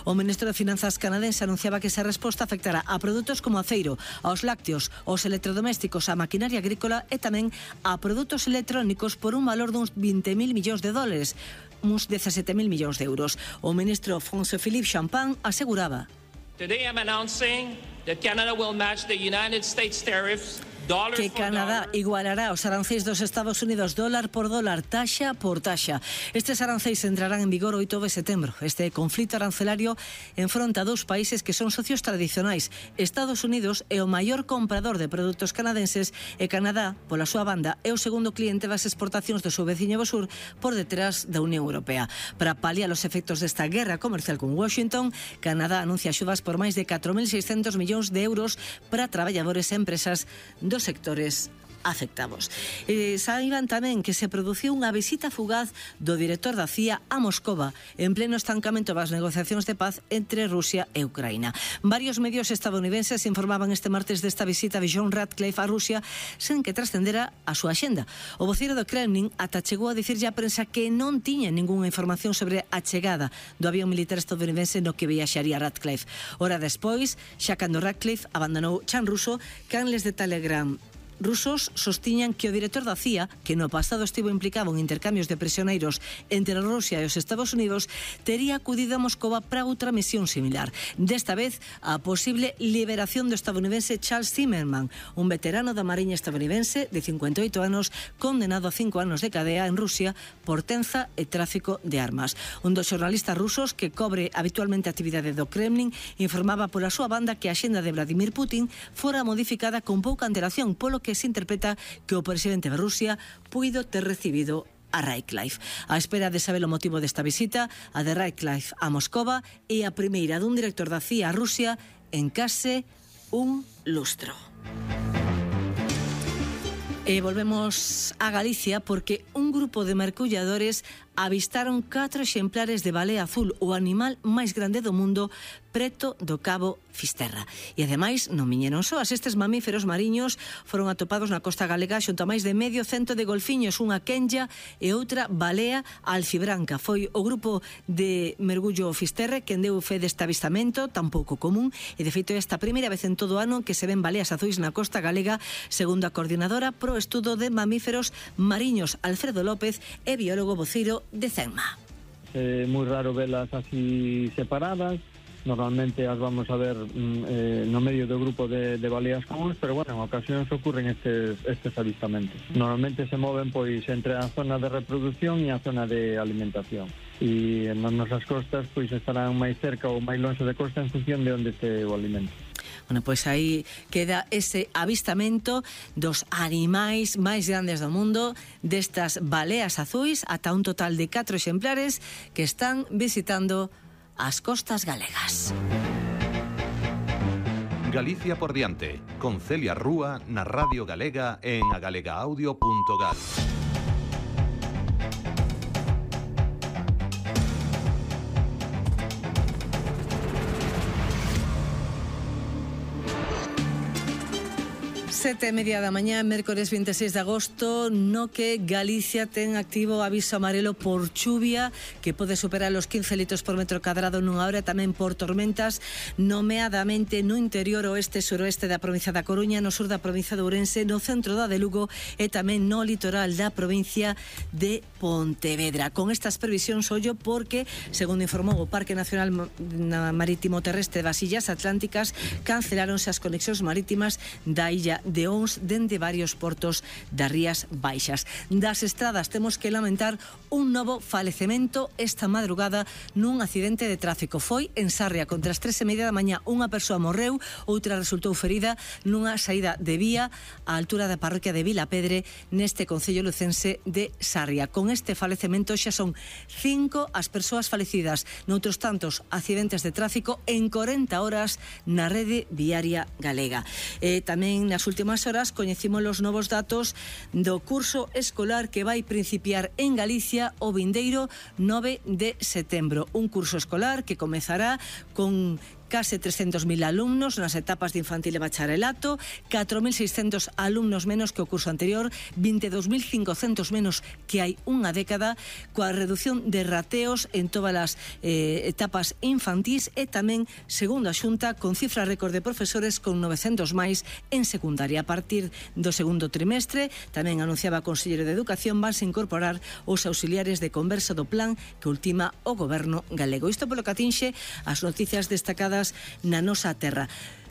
O ministro de Finanzas canadense anunciaba que esa resposta afectará a produtos como aceiro, aos lácteos, aos electrodomésticos, a maquinaria agrícola e tamén a produtos electrónicos por un valor duns 20.000 millóns de dólares, uns 17.000 millóns de euros. O ministro François-Philippe Champagne aseguraba: Today I'm announcing that Canada will match the United States tariffs que Canadá igualará os arancéis dos Estados Unidos dólar por dólar, taxa por taxa. Estes arancéis entrarán en vigor o 8 de setembro. Este conflito arancelario enfronta dous países que son socios tradicionais. Estados Unidos é o maior comprador de produtos canadenses e Canadá, pola súa banda, é o segundo cliente das exportacións do seu veciño do sur por detrás da Unión Europea. Para paliar os efectos desta guerra comercial con Washington, Canadá anuncia axudas por máis de 4.600 millóns de euros para traballadores e empresas dos sectores afectados. Saiban tamén que se produciu unha visita fugaz do director da CIA a Moscova en pleno estancamento das negociacións de paz entre Rusia e Ucraína. Varios medios estadounidenses informaban este martes desta visita de John Ratcliffe a Rusia sen que trascendera a súa axenda. O voceiro do Kremlin ata chegou a dicirlle á prensa que non tiña ningunha información sobre a chegada do avión militar estadounidense no que viaxaría Ratcliffe. Hora despois, xa cando Ratcliffe abandonou Chan ruso, canles de Telegram rusos sostiñan que o director da CIA, que no pasado estivo implicado en intercambios de prisioneiros entre Rusia e os Estados Unidos, tería acudido a Moscova para outra misión similar. Desta vez, a posible liberación do estadounidense Charles Zimmerman, un veterano da Mariña estadounidense de 58 anos, condenado a 5 anos de cadea en Rusia por tenza e tráfico de armas. Un dos xornalistas rusos que cobre habitualmente a actividade do Kremlin informaba pola súa banda que a axenda de Vladimir Putin fora modificada con pouca antelación, polo que se interpreta que o presidente de Rusia puido ter recibido a Ratcliffe. A espera de saber o motivo desta visita, a de Ratcliffe a Moscova é a primeira dun director da CIA a Rusia en case un lustro. E volvemos a Galicia porque un grupo de mergulladores avistaron 4 exemplares de balea azul, o animal máis grande do mundo, preto do Cabo Fisterra. E ademais non viñeron soas. Estes mamíferos mariños foron atopados na costa galega xunto a máis de medio cento de golfiños, unha quenlla e outra balea alfibranca. Foi o grupo de mergullo Fisterra quen deu fe deste avistamento tan pouco común, e de feito é esta primeira vez en todo o ano que se ven baleas azuis na costa galega, segundo a coordinadora pro estudo de mamíferos mariños Alfredo López e biólogo voceiro de CENMA. É moi raro velas así separadas. Normalmente as vamos a ver no medio do grupo de baleas comuns, pero bueno, en ocasións ocurren estes avistamentos. Normalmente se moven pois entre a zona de reproducción e a zona de alimentación. E nas nosas costas pois estarán máis cerca ou máis longe de costa en función de onde este o alimento. Bueno, pois aí queda ese avistamento dos animais máis grandes do mundo, destas baleas azuis, ata un total de 4 exemplares que están visitando as costas galegas. Galicia por diante, con Celia Rúa na Radio Galega en agalegaaaudio.gal. Sete e media da mañá, mércores 26 de agosto, no que Galicia ten activo aviso amarelo por chuvia que pode superar os 15 litros por metro cadrado nunha hora, tamén por tormentas, nomeadamente no interior oeste e suroeste da provincia da Coruña, no sur da provincia de Ourense, no centro da de Lugo e tamén no litoral da provincia de Pontevedra. Con estas previsións ollo porque, segundo informou o Parque Nacional Marítimo Terrestre das Illas Atlánticas, canceláronse as conexións marítimas da illa de Ons dende varios portos das Rías Baixas. Das estradas temos que lamentar un novo falecemento esta madrugada nun accidente de tráfico. Foi en Sarria, contra as 3:30 da mañá, unha persoa morreu, outra resultou ferida nunha saída de vía á altura da parroquia de Vilapedre neste concello lucense de Sarria. Con este falecemento xa son 5 as persoas falecidas noutros tantos accidentes de tráfico en 40 horas na rede viaria galega. Tamén nas últimas horas coñecimos os novos datos do curso escolar que vai principiar en Galicia o vindeiro 9 de setembro. Un curso escolar que comezará con case 300.000 alumnos nas etapas de infantil e bacharelato, 4.600 alumnos menos que o curso anterior, 22.500 menos que hai unha década, coa reducción de rateos en todas as etapas infantís e tamén, segundo a Xunta, con cifra récord de profesores con 900 máis en secundaria. A partir do segundo trimestre, tamén anunciaba o Conselleiro de Educación, vanse incorporar os auxiliares de conversa do plan que ultima o Goberno galego. Isto polo que atinxe as noticias destacadas na nosa terra.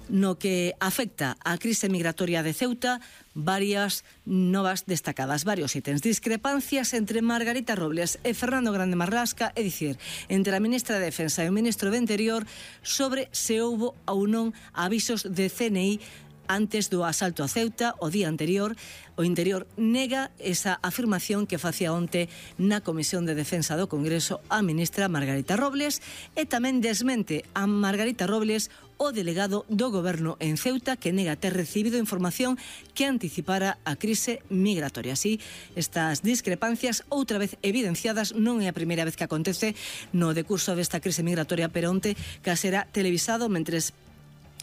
No que afecta á crise migratoria de Ceuta, varias novas destacadas, varios ítems. Discrepancias entre Margarita Robles e Fernando Grande Marlasca, é dicir, entre a ministra de Defensa e o ministro de Interior, sobre se houbo ou non avisos de CNI antes do asalto a Ceuta o día anterior. O Interior nega esa afirmación que facía onte na Comisión de Defensa do Congreso a ministra Margarita Robles, e tamén desmente a Margarita Robles o delegado do Goberno en Ceuta, que nega ter recibido información que anticipara a crise migratoria. Así, estas discrepancias outra vez evidenciadas, non é a primeira vez que acontece no decurso desta crise migratoria, pero onte que será televisado mentres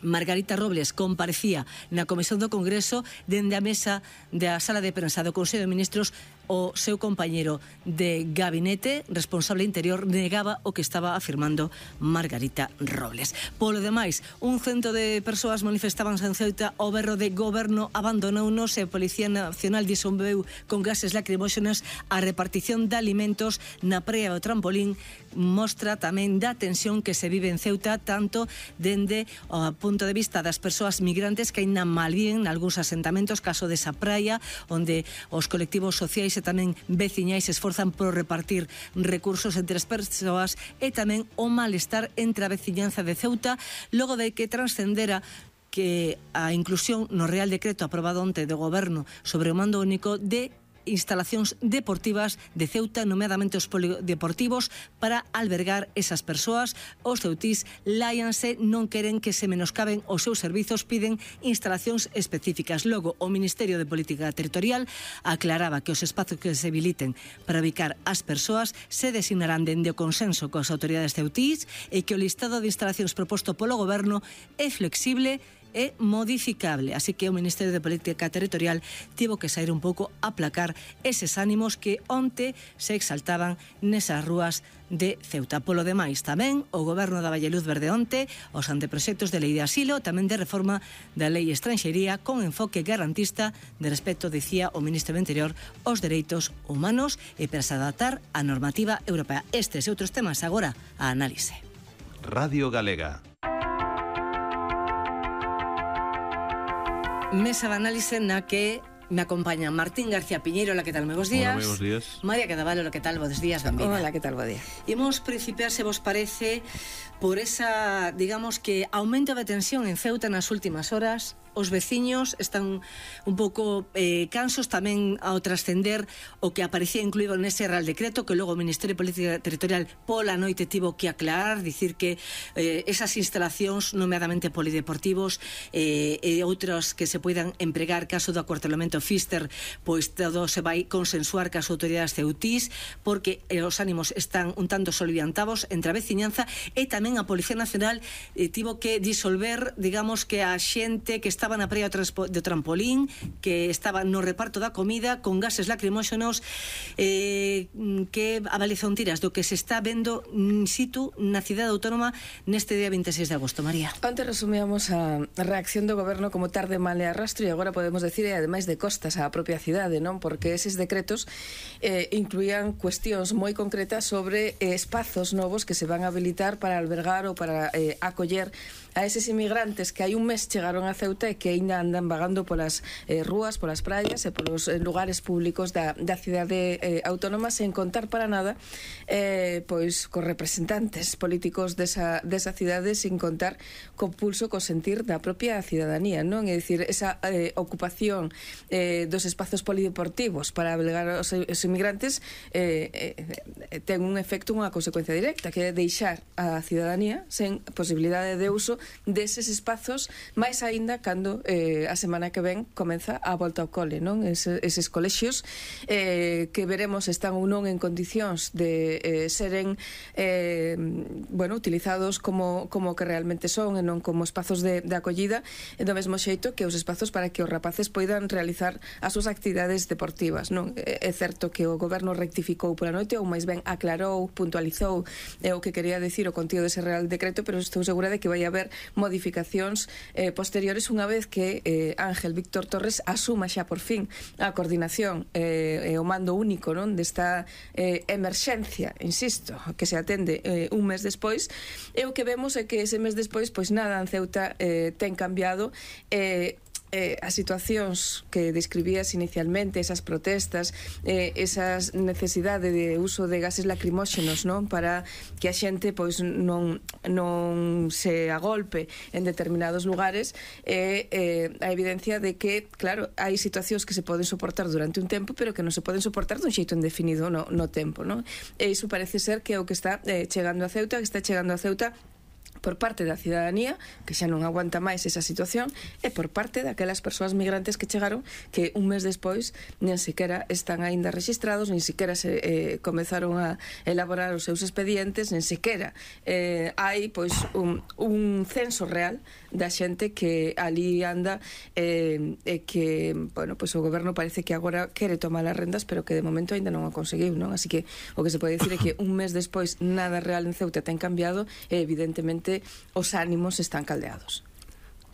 Margarita Robles comparecía na Comisión do Congreso, dende a mesa da sala de prensa do Consello de Ministros, o seu compañeiro de gabinete, responsable interior, negaba o que estaba afirmando Margarita Robles. Polo demais, un cento de persoas manifestaban en Ceuta o berro de Goberno abandonounos e a Policía Nacional disolveu con gases lacrimóxenas a repartición de alimentos na praia do Trampolín. Mostra tamén da tensión que se vive en Ceuta, tanto dende o punto de vista das persoas migrantes que aínda malvíen nalgúns asentamentos, caso desa praia, onde os colectivos sociais e tamén veciñais se esforzan por repartir recursos entre as persoas, e tamén o malestar entre a veciñanza de Ceuta, logo de que transcendera que a inclusión no Real Decreto aprobado onte do Goberno sobre o mando único de instalacións deportivas de Ceuta, nomeadamente os polideportivos, para albergar esas persoas. Os ceutís láianse, non queren que se menoscaben os seus servizos, piden instalacións específicas. Logo, o Ministerio de Política Territorial aclaraba que os espazos que se habiliten para ubicar as persoas se designarán dende o consenso coas autoridades ceutís, e que o listado de instalacións proposto polo Goberno é flexible é modificable, así que o Ministerio de Política Territorial tivo que sair un pouco a aplacar eses ánimos que onte se exaltaban nesas rúas de Ceuta. Polo demais, tamén o Goberno daba luz verde onte os anteproxectos de lei de asilo, tamén de reforma da lei estranxería, con enfoque garantista de respecto, dicía o Ministro do Interior, aos dereitos humanos e para se adaptar á normativa europea. Estes e outros temas agora a análise. Radio Galega. Mesa de análise na que me acompaña Martín García Piñeiro. Hola, que tal? Moi bons días. Hola, moi bons días. María Cadaval, hola, que tal? Bons días, benvida. Hola, que tal? Bo día. Imos principiar, se vos parece, por esa, digamos que, aumento de tensión en Ceuta nas últimas horas. Os veciños están un pouco cansos tamén ao trascender o que aparecía incluído nese Real Decreto, que logo o Ministerio de Política Territorial pola noite tivo que aclarar, dicir que esas instalacións, nomeadamente polideportivos e outros que se poidan empregar caso do acuartelamento Fister, pois todo se vai consensuar cas autoridades ceutís, porque os ánimos están un tanto soliviantados entre a veciñanza, e tamén a Policía Nacional tivo que disolver, digamos, que a xente que estaba na praia do Trampolín, que estaba no reparto da comida con gases lacrimóxenos. Que avaliación tiras do que se está vendo in situ na cidade autónoma neste día 26 de agosto, María? Antes resumíamos a reacción do Goberno como tarde, mal e arrastro, e agora podemos decir, e ademais de costas á propia cidade, non? Porque eses decretos incluían cuestións moi concretas sobre espazos novos que se van a habilitar para albergar ou para acoller a eses inmigrantes que hai un mes chegaron a Ceuta e que aínda andan vagando polas rúas, polas praias e polos lugares públicos da cidade autónoma, sen contar para nada pois cos representantes políticos desa cidade, sin contar co pulso, co sentir da propia cidadanía, non? É dicir, esa ocupación dos espazos polideportivos para albergar os inmigrantes ten un efecto, unha consecuencia directa, que é deixar a cidadanía sen posibilidade de uso deses espazos, máis aínda cando cando a semana que ven comeza a volta ao cole, non? Eses colexios que veremos están ou non en condicións de seren utilizados como que realmente son e non como espazos de acollida, e do mesmo xeito que os espazos para que os rapaces poidan realizar as súas actividades deportivas, non? É certo que o goberno rectificou pola noite, ou máis ben aclarou, puntualizou o que quería decir o contido dese Real Decreto, pero estou segura de que vai haber modificacións posteriores unha vez que Ángel Víctor Torres asuma xa por fin a coordinación e o mando único, non, desta emerxencia, insisto, que se atende un mes despois, e o que vemos é que ese mes despois pois nada en Ceuta ten cambiado. As situacións que describías inicialmente, esas protestas, esas necesidade de uso de gases lacrimóxenos, non, para que a xente pois non se agolpe en determinados lugares, a evidencia de que, claro, hai situacións que se poden soportar durante un tempo, pero que non se poden soportar dun xeito indefinido no tempo, non? E iso parece ser que é o que está chegando a Ceuta, por parte da cidadanía, que xa non aguanta máis esa situación, e por parte daquelas persoas migrantes que chegaron, que un mes despois nen sequera están aínda rexistrados, nen sequera se comezaron a elaborar os seus expedientes, nen sequera hai pois un censo real da xente que ali anda, e que, bueno, pois o goberno parece que agora quere tomar as rendas, pero que de momento aínda non o conseguiu, non? Así que o que se pode dicir é que un mes despois nada real en Ceuta ten cambiado, e evidentemente os ánimos están caldeados.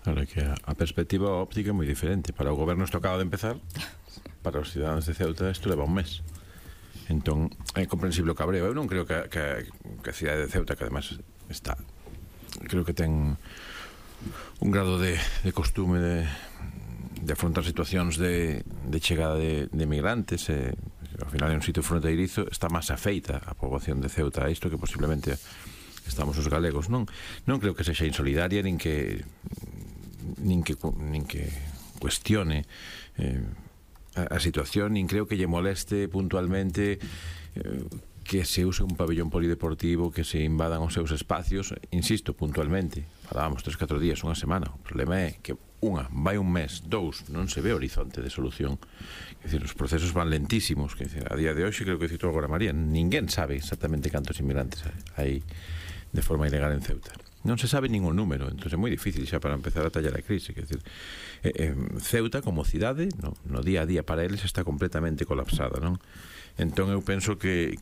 Claro, que a perspectiva óptica é moi diferente. Para o goberno isto acaba de empezar, para os cidadáns de Ceuta isto leva un mes. Entón, é comprensible o cabreo. Eu non creo que a cidade de Ceuta, que además está, creo que ten un grado de costume de afrontar situacións de chegada de migrantes, ao final é un sitio fronteirizo, está máis afeita a poboación de Ceuta a isto que posiblemente estamos os galegos. Non creo que sexa insolidaria nin que cuestione a situación, nin creo que lle moleste puntualmente que se use un pabellón polideportivo, que se invadan os seus espacios. Insisto, puntualmente, falábamos 3-4 días, unha semana. O problema é que vai un mes, 2, non se ve horizonte de solución. Quer dizer, os procesos van lentísimos. Quer dizer, a día de hoxe, creo que citou agora María, ninguén sabe exactamente cantos inmigrantes hai de forma ilegal en Ceuta. Non se sabe ningún número, entón é moi difícil xa para empezar a tallar a crise. Quer dizer, Ceuta como cidade no día a día para eles está completamente colapsada, non? Entón eu penso que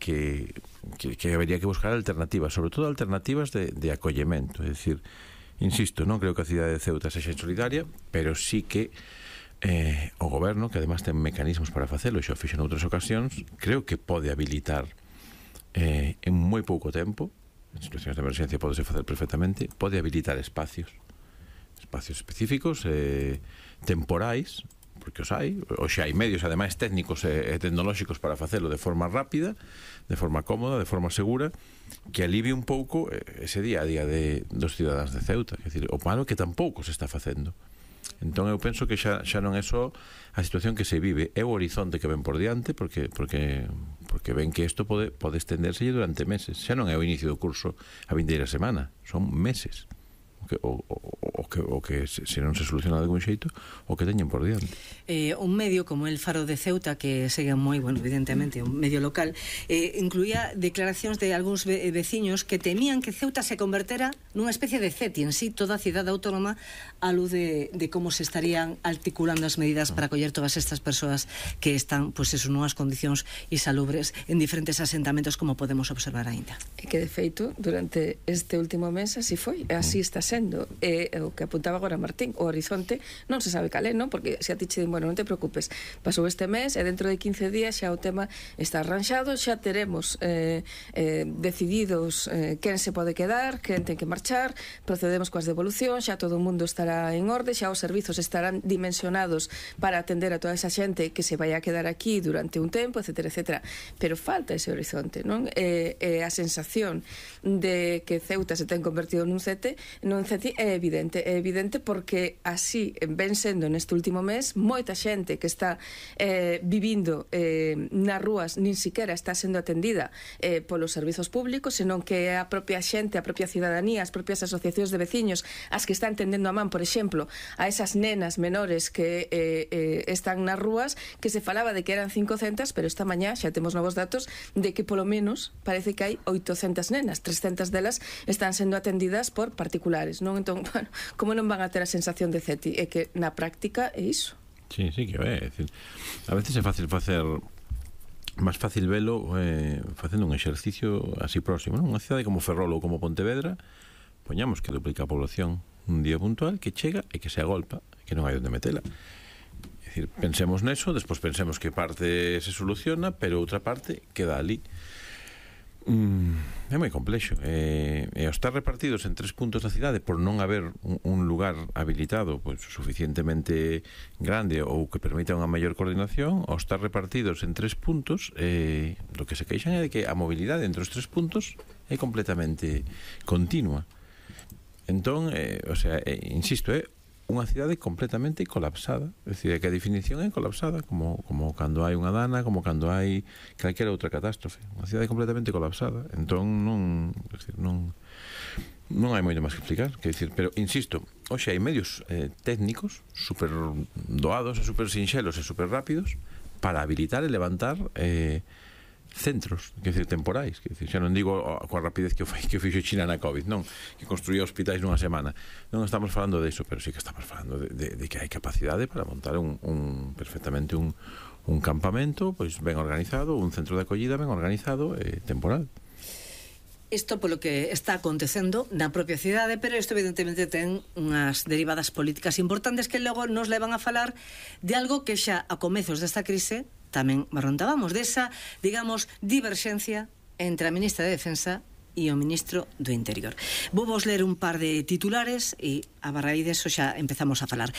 habería que buscar alternativas, sobre todo alternativas de acollemento. É dicir, insisto, non creo que a cidade de Ceuta sexa insolidaria, pero sí que o goberno, que además ten mecanismos para facelo, e xa o fixo noutras ocasións, creo que pode habilitar en moi pouco tempo, en situacións de emerxencia podese facer perfectamente, pode habilitar espacios específicos, temporais, porque os hai, ou xa hai medios ademais técnicos e tecnolóxicos para facelo de forma rápida, de forma cómoda, de forma segura, que alivie un pouco ese día a día dos cidadáns de Ceuta. Quer dizer, o malo que tampouco se está facendo. Entón eu penso que xa non é só a situación que se vive, é o horizonte que ven por diante, porque ven que isto pode estenderse durante meses. Xa non é o inicio do curso a vindeira semana, son meses. O que se non se soluciona de algún xeito, o que teñen por diante. Un medio como el Faro de Ceuta, que segue moi, evidentemente, un medio local, incluía declaracións de algúns veciños que temían que Ceuta se convertera nunha especie de CETI en sí, toda a cidade autónoma, a luz de como se estarían articulando as medidas para acoller todas estas persoas que están, pois, nunhas condicións insalubres en diferentes asentamentos, como podemos observar aínda. E que, de feito, durante este último mes así foi, así está sendo. O que apuntaba agora Martín, o horizonte non se sabe cal é, non? Porque se a ti che din, bueno, non te preocupes, pasou este mes e dentro de 15 días xa o tema está arranxado, xa teremos decididos quen se pode quedar, quen ten que marchar, procedemos coas devolucións, xa todo o mundo estará en orde, xa os servizos estarán dimensionados para atender a toda esa xente que se vai a quedar aquí durante un tempo, etcétera, etcétera. Pero falta ese horizonte, non? A sensación de que Ceuta se ten convertido nun CETI é evidente, evidente porque así ven sendo neste último mes moita xente que está vivindo nas rúas nin siquiera está sendo atendida polos servizos públicos, senón que é a propia xente, a propia cidadanía, as propias asociacións de veciños as que están tendendo a man, por exemplo, a esas nenas menores que están nas rúas, que se falaba de que eran 500, pero esta mañá xa temos novos datos de que polo menos parece que hai 800 nenas, 300 delas están sendo atendidas por particulares, non? Entón, bueno, como non van a ter a sensación de CETI? É que na práctica é iso. Sí, que é decir, a veces é fácil facer máis fácil velo facendo un exercicio así próximo, non? Unha cidade como Ferrol ou como Pontevedra, poñamos que duplica a población un día puntual, que chega e que se agolpa, que non hai onde metela. É dicir, pensemos neso, despois pensemos que parte se soluciona, pero outra parte queda ali. É moi complexo, e ao estar repartidos en 3 puntos da cidade por non haber un lugar habilitado pois suficientemente grande ou que permita unha maior coordinación, ao estar repartidos en 3 puntos, lo que se queixan é de que a mobilidade entre os 3 puntos é completamente continua. Entón, insisto, é unha cidade completamente colapsada. É dicir, que a definición é colapsada, como cando hai unha dana, como cando hai calquera outra catástrofe. Unha cidade completamente colapsada. Entón, non hai moito máis que explicar. Quer dicir, pero, insisto, hoxe hai medios técnicos super doados e super sinxelos e super rápidos para habilitar e levantar centros, quer dizer, temporais, quer dizer, xa non digo coa rapidez que fixo China na COVID, non, que construía hospitais nunha semana, non estamos falando de iso, pero sí que estamos falando de que hai capacidade para montar perfectamente un campamento pois ben organizado, un centro de acollida ben organizado e temporal. Isto polo que está acontecendo na propia cidade, pero isto evidentemente ten unhas derivadas políticas importantes que logo nos levan a falar de algo que xa a comezos desta crise tamén barrontábamos, desa, digamos, diverxencia entre a ministra de Defensa e o ministro do Interior. Vou vos ler un par de titulares e a raíz deso xa empezamos a falar.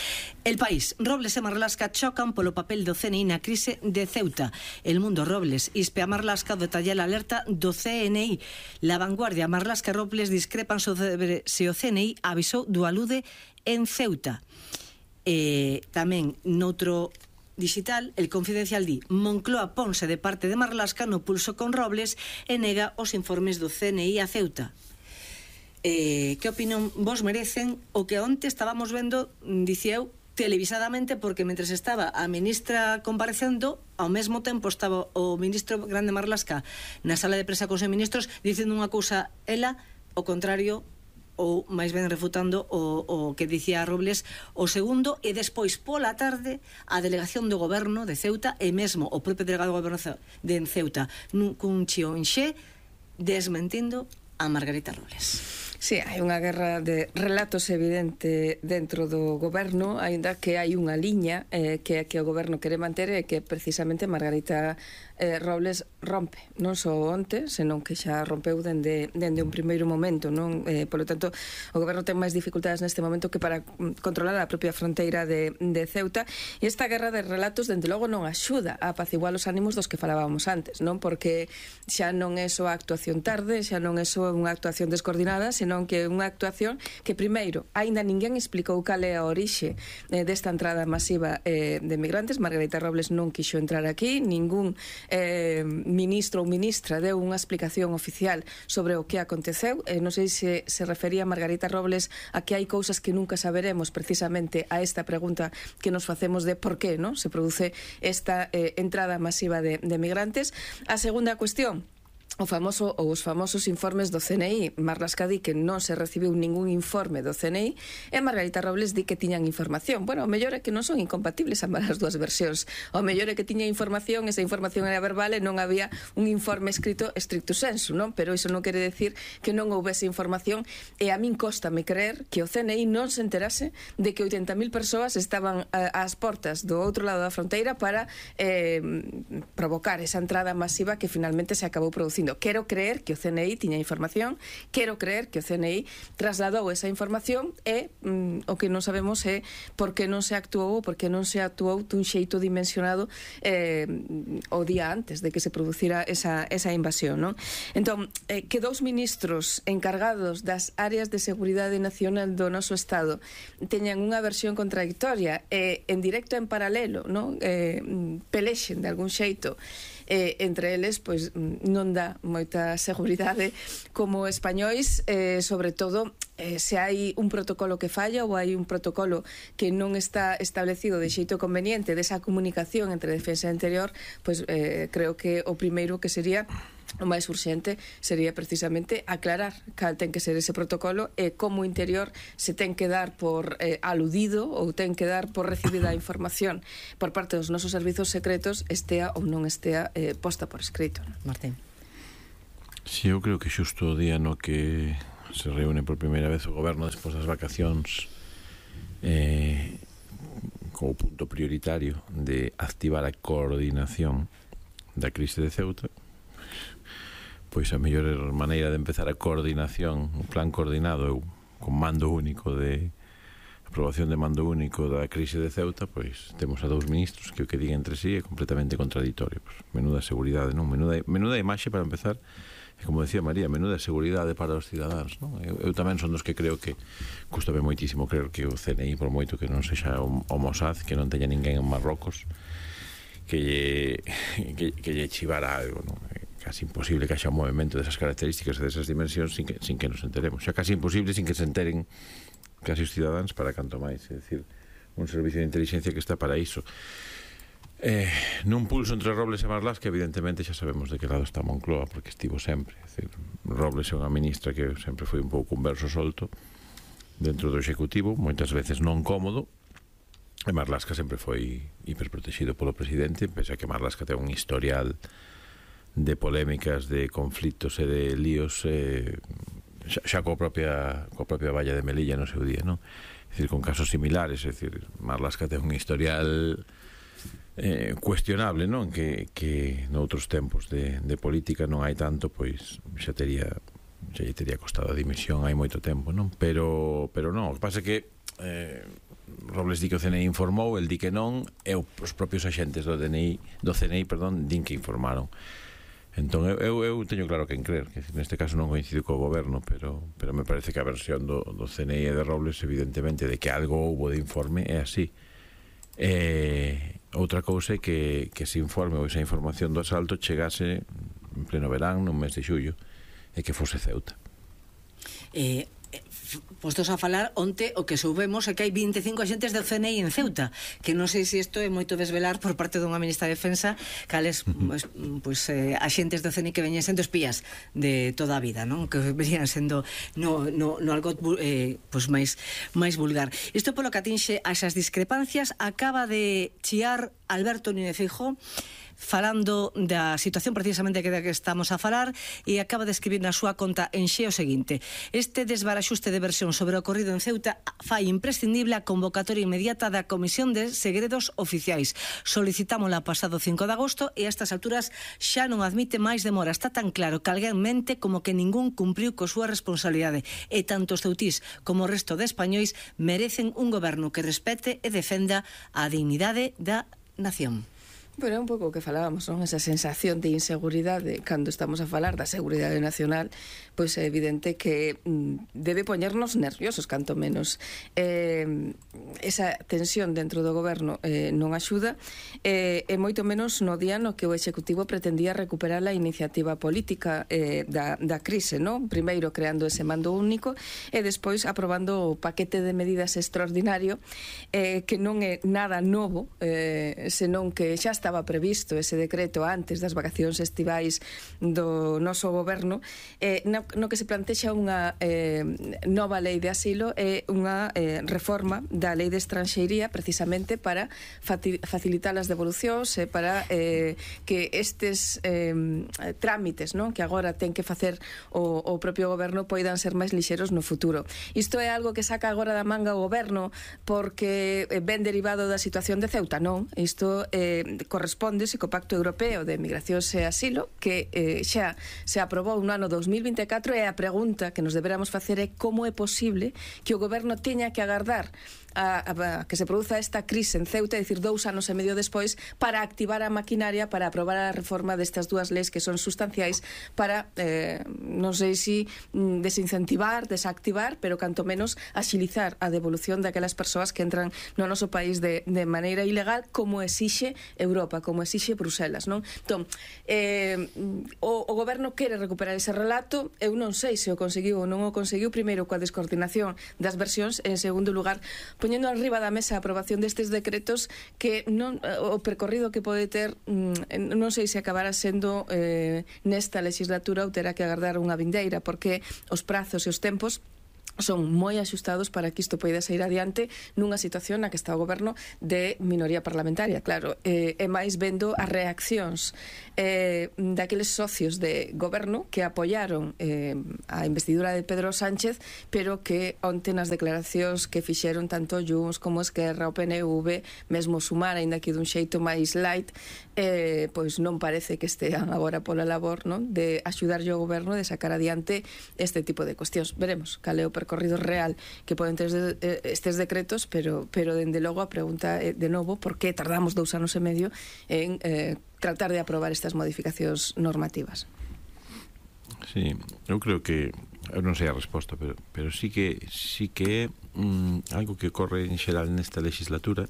El País. Robles e Marlaska chocan polo papel do CNI na crise de Ceuta. El Mundo. Robles ispe a Marlaska o detalla a alerta do CNI. La Vanguardia. Marlaska e Robles discrepan sobre se o CNI avisou do alude en Ceuta. Tamén noutro digital, El Confidencial di: Moncloa ponse de parte de Marlaska no pulso con Robles e nega os informes do CNI a Ceuta. Que opinión vos merecen o que onte estábamos vendo, dicía eu, televisadamente, porque mentres estaba a ministra comparecendo, ao mesmo tempo estaba o ministro grande Marlaska na sala de prensa con os ministros dicendo unha cousa ela, o contrario, ou máis ben refutando o que dicía Robles o segundo, e despois pola tarde a delegación do goberno de Ceuta e mesmo o propio delegado do goberno de Ceuta cun chionxe desmentindo a Margarita Robles. Sí, hai unha guerra de relatos evidente dentro do goberno, aínda que hai unha liña que o goberno quere manter e que precisamente Margarita Robles rompe, non só onte, senón que xa rompeu dende un primeiro momento, non? Polo tanto, o goberno ten máis dificultades neste momento que para controlar a propia fronteira de Ceuta, e esta guerra de relatos, dende logo, non axuda a apaciguar os ánimos dos que falábamos antes, non? Porque xa non é só a actuación tarde, xa non é só unha actuación descoordinada, senón que é unha actuación que, primeiro, aínda ninguén explicou cal é a orixe desta entrada masiva de migrantes. Margarita Robles non quixo entrar aquí, ningún ministro ou ministra deu unha explicación oficial sobre o que aconteceu. Non sei se refería Margarita Robles a que hai cousas que nunca saberemos, precisamente a esta pregunta que nos facemos de por que, non, se produce esta entrada masiva de migrantes. A segunda cuestión, os famosos informes do CNI. Marlaska di que non se recibiu ningún informe do CNI e Margarita Robles di que tiñan información. Bueno, o mellor é que non son incompatibles ambas as dúas versións. O mellor é que tiña información, esa información era verbal e non había un informe escrito estricto sensu, non? Pero iso non quere decir que non houvese información, e a min cóstame creer que o CNI non se enterase de que 80.000 persoas estaban ás portas do outro lado da fronteira para provocar esa entrada masiva que finalmente se acabou producindo dicindo, quero creer que o CNI tiña información, quero creer que o CNI trasladou esa información e o que non sabemos é por que non se actuou ou por que non se actuou dun xeito dimensionado o día antes de que se producira esa invasión, non? Entón, que dous ministros encargados das áreas de seguridade nacional do noso Estado teñan unha versión contradictoria en directo en paralelo, non? Pelexen de algún xeito entre eles, pois non dá moita seguridade como españois, sobre todo se hai un protocolo que falla ou hai un protocolo que non está establecido de xeito conveniente desa comunicación entre defensa e interior, pois creo que o primeiro que sería o máis urxente sería precisamente aclarar cal ten que ser ese protocolo e como o interior se ten que dar por aludido ou ten que dar por recibida a información por parte dos nosos servizos secretos, estea ou non estea posta por escrito. Martín. Si, eu creo que xusto o día no que se reúne por primeira vez o goberno despois das vacacións como punto prioritario de activar a coordinación da crise de Ceuta, pois a mellor maneira de empezar a coordinación, o plan coordinado con mando único de aprobación de mando único da crise de Ceuta, pois temos a dous ministros que o que digan entre sí é completamente contradictorio. Pois, menuda seguridade, non? Menuda imaxe para empezar, e como decía María, menuda seguridade para os cidadáns, non? Eu tamén son dos que creo que custame moitísimo creer que o CNI, por moito que non sexa o Mossad, que non teña ninguén en Marrocos que lle chivara algo, non? Casi imposible que haxa un movimento desas características e desas dimensións sin que nos enteremos. Xa casi imposible sin que se enteren casi os cidadáns, para canto máis, é dicir, un servicio de inteligencia que está para iso. Nun pulso entre Robles e Marlaska, evidentemente xa sabemos de que lado está Moncloa, porque estivo sempre. É dicir, Robles é unha ministra que sempre foi un pouco un verso solto dentro do Executivo, moitas veces non cómodo, e Marlaska sempre foi hiperprotegido polo presidente, pese a que Marlaska ten un historial de polémicas, de conflitos e de líos xa coa propia Valla de Melilla no seu día, non? É dicir, con casos similares, é dicir, Marlaska ten un historial cuestionable, non? Que noutros tempos de política non hai tanto, pois xa lle tería costado a dimisión hai moito tempo, non? Pero non, o que pasa é que Robles di que o CNI informou, el di que non, e os propios axentes do CNI, din que informaron. Entón, eu teño claro quen creer, que neste caso non coincido co goberno, pero me parece que a versión do CNI e de Robles, evidentemente, de que algo houbo de informe, é así. Outra cousa é que ese informe ou esa información do asalto chegase en pleno verán, nun mes de xullo, e que fose Ceuta. Postos a falar, onte o que soubemos é que hai 25 axentes do CNI en Ceuta, que non sei se isto é moito desvelar por parte dunha ministra de Defensa cales axentes do CNI que veñen sendo espías de toda a vida, non? Que venían sendo no algo máis vulgar. Isto polo que atinxe a esas discrepancias, acaba de chiar Alberto Núñez Feijóo falando da situación precisamente que estamos a falar, e acaba de escribir na súa conta en Xe o seguinte: este desbaraxuste de versión sobre o ocorrido en Ceuta fai imprescindible a convocatoria inmediata da Comisión de Segredos Oficiais. Solicitámola pasado 5 de agosto e a estas alturas xa non admite máis demora. Está tan claro que alguén mente como que ningún cumpriu coa súa responsabilidade, e tanto os ceutís como o resto de españois merecen un goberno que respete e defenda a dignidade da nación. Bueno, é un pouco o que falábamos, non? Esa sensación de inseguridade cando estamos a falar da seguridade nacional, pois é evidente que debe poñernos nerviosos, canto menos. Esa tensión dentro do goberno non axuda, e moito menos no día no que o Executivo pretendía recuperar a iniciativa política da crise, non? Primeiro creando ese mando único e despois aprobando o paquete de medidas extraordinario, que non é nada novo, senón que xa estaba previsto ese decreto antes das vacacións estivais do noso goberno, no que se plantexa unha nova lei de asilo e unha reforma da lei de estranxeiría, precisamente para facilitar as devolucións e para que estes trámites, non, que agora ten que facer o propio goberno, poidan ser máis lixeros no futuro. Isto é algo que saca agora da manga o goberno porque ven derivado da situación de Ceuta? Non, isto correspóndese co Pacto Europeo de Migracións e Asilo, que xa se aprobou no ano 2024, e a pregunta que nos deberamos facer é como é posible que o goberno teña que agardar a que se produza esta crise en Ceuta, é dicir, 2 anos e medio despois, para activar a maquinaria para aprobar a reforma destas dúas leis que son sustanciais para, non sei se desincentivar, desactivar, pero canto menos axilizar a devolución daquelas persoas que entran no noso país de maneira ilegal, como exixe Europa, como exixe Bruselas, non? Entón, o goberno quere recuperar ese relato. Eu non sei se o conseguiu ou non o conseguiu, primeiro coa descoordinación das versións, en segundo lugar poñendo arriba da mesa a aprobación destes decretos que non, o percorrido que pode ter, non sei se acabará sendo nesta legislatura ou terá que agardar unha vindeira, porque os prazos e os tempos son moi axustados para que isto poida sair adiante nunha situación na que está o goberno de minoría parlamentaria, claro, e máis vendo as reaccións daqueles socios de goberno que apoiaron a investidura de Pedro Sánchez, pero que onte nas declaracións que fixeron tanto Junts como Esquerra, o PNV, mesmo Sumar, aínda que dun xeito máis light, pois non parece que estean agora pola labor, non, de axudarlle ao goberno de sacar adiante este tipo de cuestións. Veremos cal é o percorrido real que poden ter estes decretos, pero dende logo a pregunta é de novo por que tardamos 2 anos e medio en tratar de aprobar estas modificacións normativas. Sí, eu creo que eu non sei a resposta, pero sí que é algo que ocorre en xeral nesta legislatura,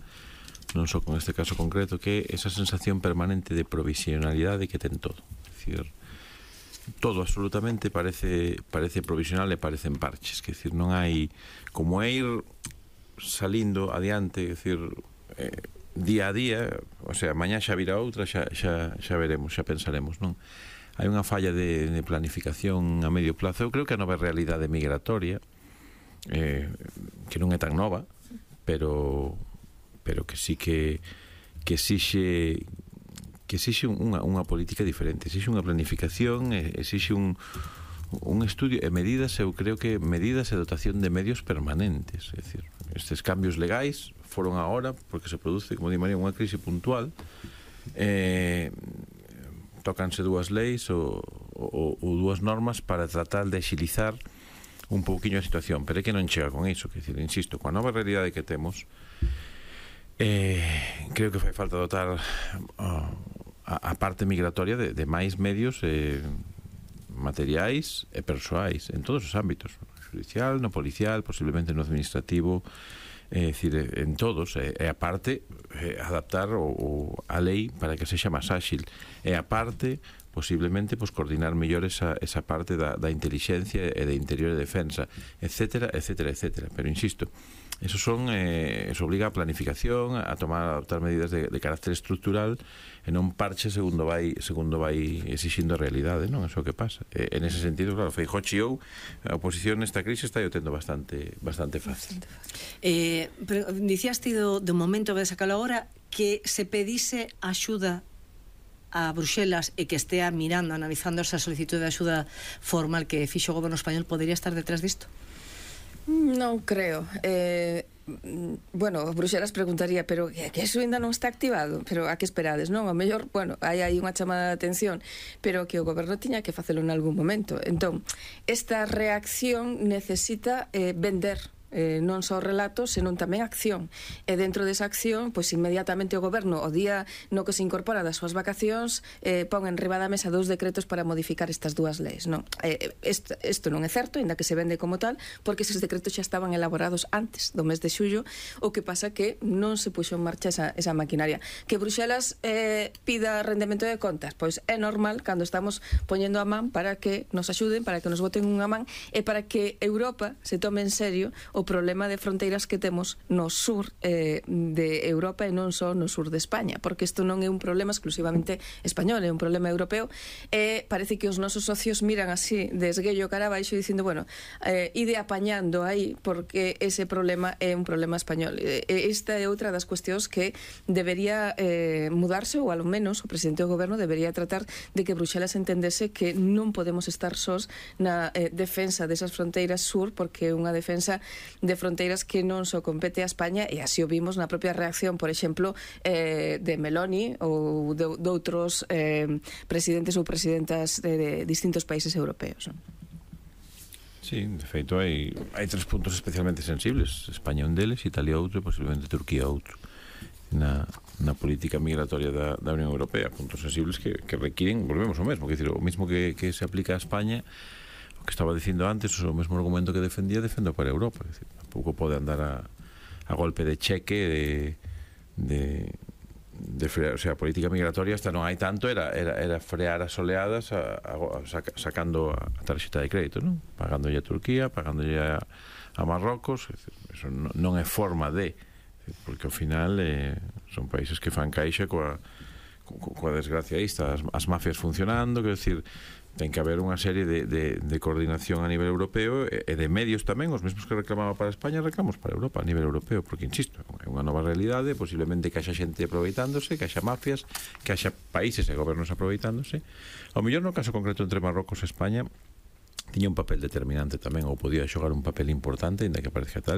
non só con este caso concreto, que é esa sensación permanente de provisionalidade que ten todo. É dicir, todo absolutamente parece provisional e parecen parches, que decir, non hai como é ir salindo adiante, é dicir, día a día, o sea, mañá xa virá outra, xa veremos, xa pensaremos, non? Hai unha falla de planificación a medio plazo. Eu creo que a nova realidade migratoria, que non é tan nova, pero que sí que exixe unha política diferente, exixe unha planificación, exixe un estudio e medidas, eu creo que medidas e dotación de medios permanentes. É dicir, estes cambios legais foron agora porque se produce, como di María, unha crise puntual, tócanse dúas leis ou dúas normas para tratar de axilizar un pouquiño a situación, pero é que non chega con iso, que decir, insisto, coa nova realidade que temos, creo que fai falta dotar a parte migratoria de máis medios materiais e persoais en todos os ámbitos, no judicial, no policial, posiblemente no administrativo, é dicir, en todos, e a parte adaptar a lei para que sexa máis áxil, e a parte posiblemente coordinar mellor esa parte da intelixencia e de interior e defensa, etcétera, etcétera, etcétera. Pero insisto, eso obliga a planificación, a adoptar medidas de carácter estructural e non parche segundo vai exixindo a realidade, non? Eso que pasa. En ese sentido, claro, Feijóo chiou, a oposición nesta crise está o tendo bastante fácil. Pero dicías ti do momento que sacalo agora, que se pedise axuda a Bruxelas e que estea mirando, analizando esa solicitud de axuda formal que fixo o goberno español, podería estar detrás disto? Non creo. Bueno, Bruxelas preguntaría, pero que eso ainda non está activado, pero a que esperades, non? O mellor, bueno, hai unha chamada de atención, pero que o goberno tiña que facelo en algún momento. Entón, esta reacción necesita vender non só relatos, senón tamén acción, e dentro desa acción, pois inmediatamente o goberno, o día no que se incorpora das súas vacacións, pon en riba da mesa 2 decretos para modificar estas dúas leis, non? Isto non é certo, ainda que se vende como tal, porque eses decretos xa estaban elaborados antes do mes de xullo, o que pasa que non se puxo en marcha esa maquinaria. Que Bruxelas pida rendemento de contas, pois é normal cando estamos poñendo a man para que nos axuden, para que nos boten unha man, e para que Europa se tome en serio o problema de fronteiras que temos no sur de Europa e non só no sur de España, porque isto non é un problema exclusivamente español, é un problema europeo, e parece que os nosos socios miran así de esguello cara abaixo dicindo, bueno, ide apañando aí porque ese problema é un problema español. Esta é outra das cuestións que debería mudarse, ou ao menos o presidente do goberno debería tratar de que Bruxelas entendese que non podemos estar sós na defensa desas fronteiras sur, porque é unha defensa de fronteiras que non só compete a España, e así o vimos na propia reacción, por exemplo, de Meloni ou de outros presidentes ou presidentas de distintos países europeos. Sí, de feito hai 3 puntos especialmente sensibles. España un deles, Italia outro e posiblemente Turquía outro na política migratoria da Unión Europea. Puntos sensibles que requiren, volvemos ao mesmo, o mesmo que se aplica a España, o que estaba dicindo antes, o mesmo argumento que defendo para Europa. Tampouco pode andar a golpe de cheque de frear, o sea, a política migratoria esta non hai tanto, era frear as oleadas sacando a tarxeta de crédito, non? Pagándolle a Turquía, pagándolle a Marrocos. Eso non é forma de, porque ao final son países que fan caixa coa desgracia esta, as mafias funcionando, quero decir, ten que haber unha serie de coordinación a nivel europeo e de medios tamén, os mesmos que reclamaba para España reclamos para Europa a nivel europeo, porque insisto, é unha nova realidade, posiblemente que haxa xente aproveitándose, que haxa mafias, que haxa países e gobernos aproveitándose. Ao mellor no caso concreto entre Marrocos e España tiña un papel determinante tamén, ou podía xogar un papel importante, ainda que parezca tal,